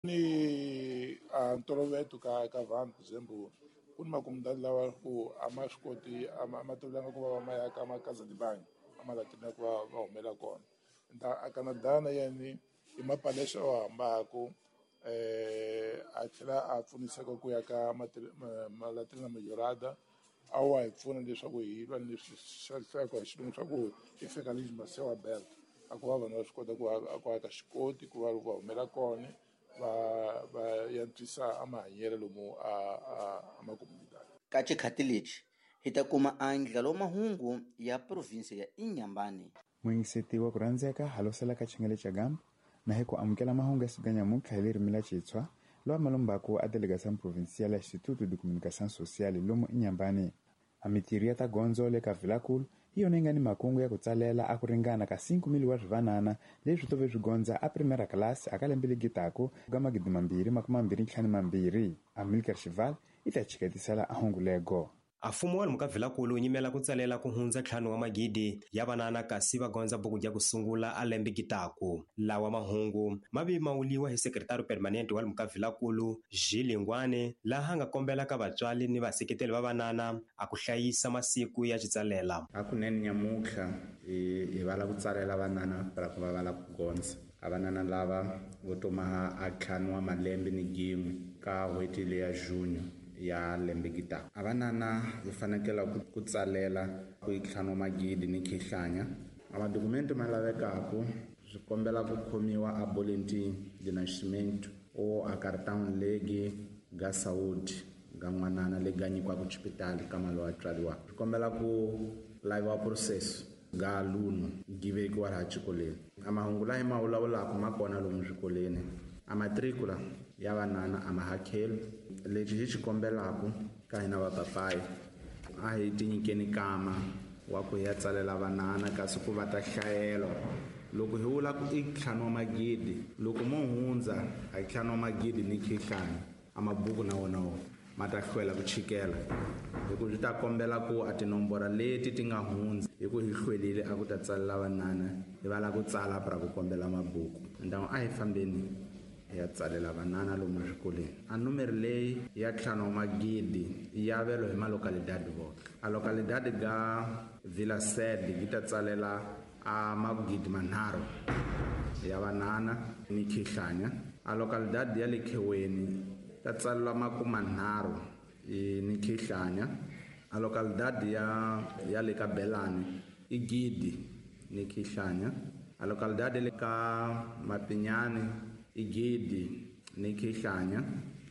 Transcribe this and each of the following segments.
Ni a ntoloveto ka vanhu for example ku ni makomunidadi lawa ku a ma swi koti a ma tolovelanga ku va va ma ya ka makazanibani a ma latina ku va va humela kona a Canada na yena i mapalesa o hambaku a tlhela a pfuniseka ku ya ka Latina Majorada a wa hi pfuna leswaku hi va ni leswi hi xilungu swa ku i fekalism sewa belt a ku va vanhu va swi kota ku ku aka xikoti ku va va humela kona va yantswisa a mahanyelo lomu a makomunidadi. Ka xikhati lexi hi ta kuma andlalo wa mahungu ya provinsi ya Inhambane. Muyingiseti wa ku rhandzeka halosela ka chingele cha gambo na hi ku amukela mahungu ya siku nyamuntlha hi ririmi la Xitswa lowa malombaku a delegação provincial ya Instituto de Comunicação Social lomu Inhambane. A mitirho ya ta gondzo le ka Vilakulu hi yona yi nga ni makungu ya ku tsalela a ku ringana ka 5,000 wa swivanana leswi tove swi gondza a primera class aka lembe legi taku ka 2022. Amilcar Xival i ta chiketisela a hungu lego. A mfumo wa lomu ka Vilakulu wu nyimela ku tsalela ku hundza 5 wa magidi ya vanana kasi va gondza buku ya ku sungula a lembe gitaku. Lawa mahungu ma vi ma wuliwa hi sekretari permanente wa lomu ka Vilakulu Gilles Ngwane laha nga kombela ka vatswari ni vaseketeli va vanana a ku hlayisa masiku ya xitsalela. Hakunene nyamuntlha hi vala ku tsalela vanana para ku va vala ku gondza. A vanana lava vo tomaha a 5 wa malembe ni gin'we ka n'hweti leya Junho ya lembe gita. A vanana hi fanekela ku tsalela ku yi 5 magidi ni khihlanya. A madokumenti ma lavekaku swi kombela ku khomiwa a boletim de nascimento o a cartão legi ga saúde ga n'wanana legi ga nyikiwaka xipitali ka mali wa tswariwa. Swi kombela ku laviwa processo ga aluno gi vekiwa laha xikolweni. A mahungu laha ma vulavulaka ma kona lomu swikolweni. A matricula ya vanana a ma hakeli. Lexi hi xi kombelaka ka hina vapapayi a hi tinyikeni kama wa ku hi ya tsalela vanana kasi ku va ta hlayelo. Loko hi vula ku i 5 wa magidi, loko mo hundza a 5 wa magidi ni khihlani, a mabuku na wona wo ma ta hlwela ku chikela. Hi ku swi ta kombela ku a tinomboro leti ti nga hundza hi ku hi hlwelile a ku ta tsalela vanana, hi va la ku tsala para ku kombela mabuku. Ndhawu a hi fambeni hi ya tsalela vanana lomu swikolweni. A numero leyi ya 5 wa magidi ya velo hi malokalidadi voke. A lokalidadi ga Vila Sede yi ta tsalela a magidi manharhu ya vanana ni khihlanya. A lokalidadi ya le Kheweni ta tsalela makuma nharhu ni khihlanya. A lokalidadi ya le ka Belani i gidi ni khihlanya. A lokalidadi le ka Mapinyani i gidi ni khihlanya.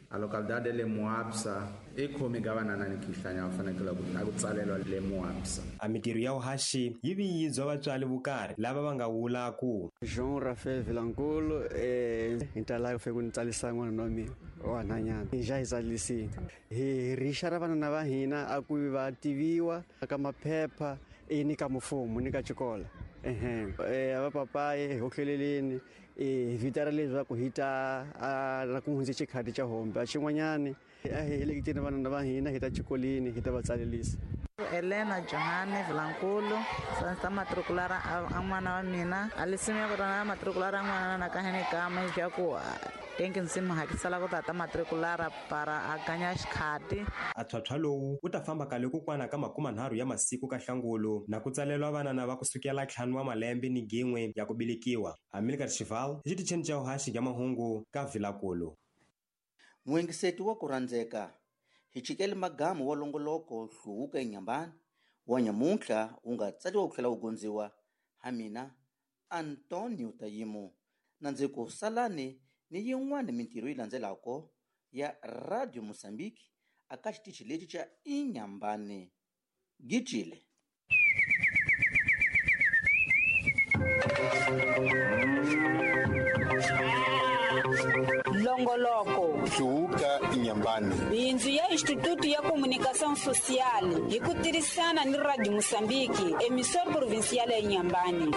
A localidade le Muapsa i khomi ka vanana ni khihlanya va fanekele ku tsalelwa le Muapsa. A mitirho ya vuhaxi yi vi yi bya vatswari vukarhi lava va nga vula ku Jean Raphael Vilankulu hi ta lava ku ni tsalisa n'wana wa mina wa nhwanyana. Hi ja hi tsalisile. Hi rixa ra vanana va hina a ku va tiviwa ka maphepha ni ka mfumo ni ka xikolo. Va papayi hi hohleleleni hi vita ra leswaku hi ta na ku hundze xikhati xa hombe. A xin'wanyani a hi heleketeni vanana va hina hi ta xikolweni hi ta va tsalelisa. Elena Johane Vilankulu sansa matriculara a n'wana wa mina a lisimu ya ku tana matriculara n'wana na ka hene kama ya ku tenki nsimu hakisela ku tata matriculara para a ganya xikhati. A tlhwatlhwa lowu wu ta famba kale ku kwana ka 30 ya masiku ka Hlangulu na ku tsalelwa vanana va kusukela 5 wa malembe ni gin'we ya ku bilikiwa. Amilcar Xival hi xitichini xa vuhaxi bya mahungu ka Vilakulu. Muyengiseti wa ku rhandzeka hi chikele magamu wa longoloko hluvuka eNyambani wa nyamuntlha wu nga tsariwa ku tlhela wu gondziwa ha mina Antonio Tayimo na ndzi ku salani ni yin'wana mintirho yi landzelaka ya Radio Mozambique aka xitichi lexi xa Inhambane. Gijile. Longoloko Hluvuka Inhambane. Bindzu ya Instituto ya Comunicação Social hi ku tirhisana ni Radio Mozambique, emissora provincial ya Inhambane.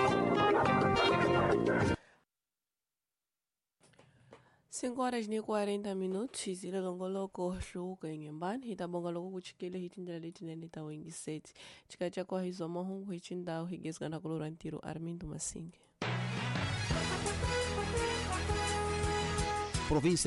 5:40 zile longoloko hluvuka Inhambane hi ta bonga loko ku chikele hi tindlela letinene ta wingiseti. Chikacha kwa hizo mahungu hi chindhawu hi gezgana kulora ntirho Armindo Masinge. Província